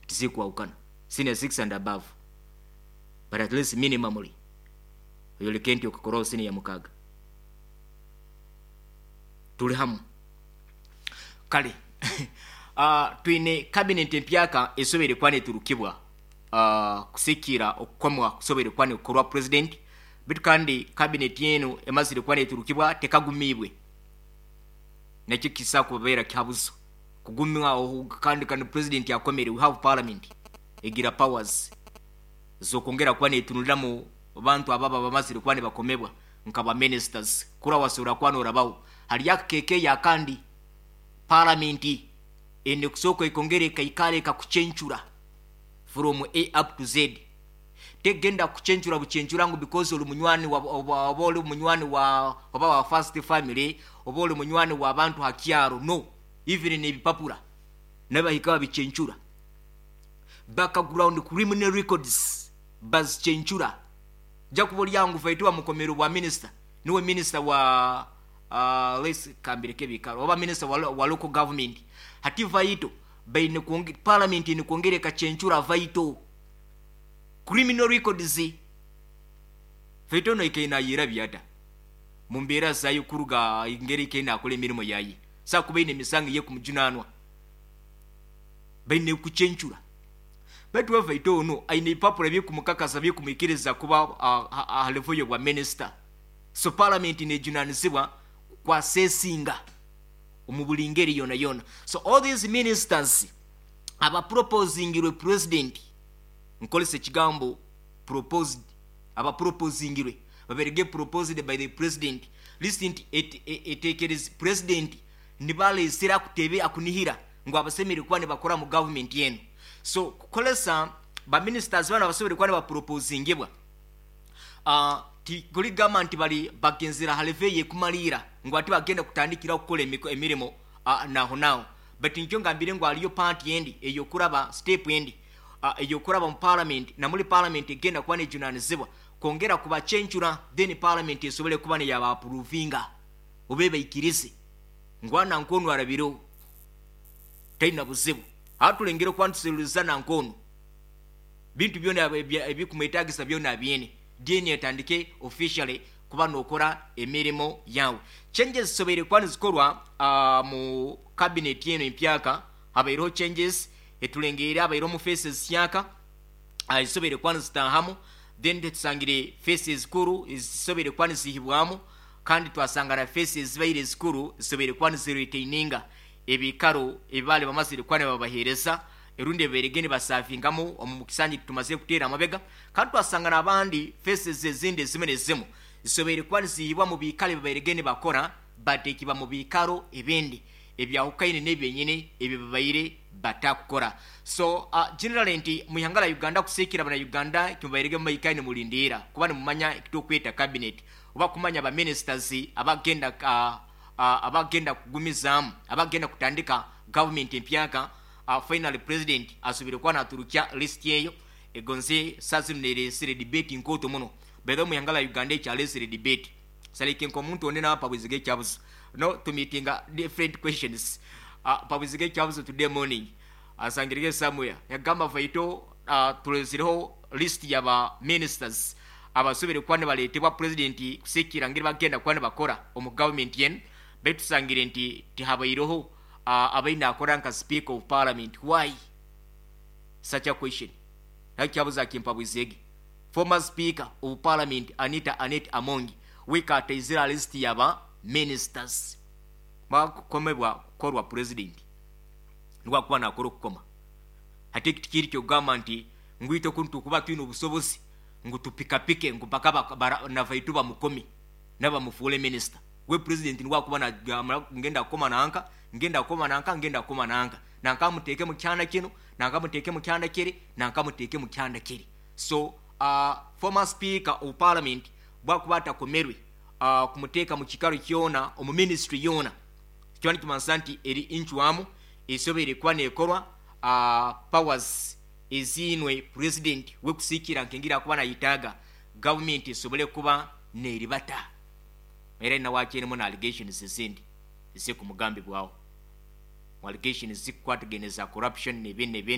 Tizikwahukana senior 6 and above, but at least minimumly oyoleke nti okakoraho senior 6. Turi hamwe. Kare twine cabinet empyaka esoboire kuba neturukibwa kusikiira okukomwa kusoboire kuba nikukorwa president, beitu kandi cabinet enu emazire kuba neturukibwa tekagumiibwe. Nakyo kisobola kubabeera kihabuzo kugumwa kandi kandi president akomire. We have parliament egira powers zokwongera kuba netunuliramu bantu ababa bamazire kuba nibakomebwa nka ba ministers. Kura wasobola kuba norabaho hariyo akakekeeyo akandi, parliament eine kusooka ekongera ekaikara ekakucencura from A up to Z. Tegenda kukucencura bucencura ngu because ori munywani wa oba ori munywani wa oba wa first family oba ori munywani w'abantu ha kyaro, no, even n'ebipapura nabo bahika babicencura. Background criminal records bazicencura. Ojja kuba ori aho ngu Faito bamukomere obwa minister, niwe minister wa let's kambireke ebikaro, oba minister wa local government. Hati Vaito baine kwonge parliament eine kwongera ekacencura Vaito criminal records. Vaito onu aikaire nayerabya ata mu mbeera zaye kuruga engeri aikaire nakora emirimo yaye? Saha kuba aine emisango ey'ekumujunaanwa, baine kucencura. Baitu we Vaito onu aine ebipapura ebirikumukakasa birikumwikiriza kuba aha level y'obwa minister. So parliament nejunanizibwa ku assessinga omu buri ngeri yona yona. So all these ministers abaproposingirwe president, nkoresa ekigambo proposed, abaproposingirwe babaire proposed by the president, list nti etekerezi president nibaresire akutebe akunihira ngu abasemereire kuba nibakora mu government enu. So kukoresa ba ministers banu abasoboire kuba nibaproposingibwa, tikurigamba nti bari bagenzire aha level eyekumariira ngu hati bagenda kutandikiraho kukora emirimo naho naho. But nikyo ngambire ngu hariyo part endi eyokuraba, step endi eyokuraba mu parliament, na muri parliament egenda kuba nejunanizibwa kwongera kubacencura, then parliament esobole kuba neyaba approvinga oba ebaikirize ngu nanka onu arabireho taina buzibu. Hati tulengere kuba nituseruriza nanka onu bintu byona ebikumwetagisa byona abyine, then etandike officially kuba nokora emirimo yawe. Changes zisoboire kuba nizikorwa mu cabinet enu empyaka. Habaireho changes etulengeire, habaireho mu faces syaka ezisoboire kuba nizitahamu, then tusangire faces kuru ezisoboire kuba nizihibwamu, kandi twasanga na faces zibaire zikuru zisoboire kuba niziretaininga ebikaro ebi baali bamazire kuba nibabaheereza erundi ebibairege nibasavingamu omu kisanja tumaze kuteera amabega. Kandi twasanga n'abandi faces ezindi ezimwe nezimu zisoboire kuba nizihibwa mu biikaro ebibairege nibakora, bateekibwa mu biikaro ebindi ebyahukaine n'ebyenyine ebyo bibaire batakukora. So generally nti mu ihanga lya Uganda, kusiikira bana Uganda, kimubairege mumaikaine mulindiira kuba nimumanya ekitukweta cabinet oba kumanya ba ministers abagenda kugumizaamu, abagenda kutandika government empyaka. Finally president asubire kuba naturukya list eyo egonze saa zinu neresire debate nkooto muno. By the way, mu ihanga lya Uganda ekyalesire debate salike nk'omuntu onde napabwiziga ekyabuzo no tumeetinga different questions, pabwiziga ekyabuzo today morning asangirege somewhere yagamba, "Vaito, tulezireho list yaba ministers abasobere kuba nibaletebwa president kusikira ngeri bagenda kuba nibakora omu government yenu, baitu tusangire nti tihabaireho abaine akora nka speaker of parliament. Why such a question?" Nakyabuza akimpabwizege former speaker of parliament Anita Anet Amongi wikataizira list yaba ministers bakukomebwa kukorwa president nibwakuba nakora okukoma. Hati eki tikiri kyokugamba nti ngwite oku nitukuba twine obusobozi ngu tupikapike ngu mpaka navaitu bamukome nabamufuule minister. We president nibwakuba nagamba ngenda kukoma nanka, ngenda kukoma nanka, ngenda kukoma nanka, nanka muteeke mu kyanda kino, nanka muteeke mu kyanda kiri, nanka muteeke mu kyanda kiri. So former speaker of parliament bwakuba atakomerwe kumuteeka mu kikaro kyona omu ministry yoona, kiba nikimanisa nti eri incwamu esoboire kuba nekorwa, powers eziinwe president we kusiikira nkengeri akuba nayetaaga government esobole kuba neribata. Era nawe akyerimu na allegations ezindi ezikumugambibwaho, allegations zikukwatagene za corruption nebindi nebindi.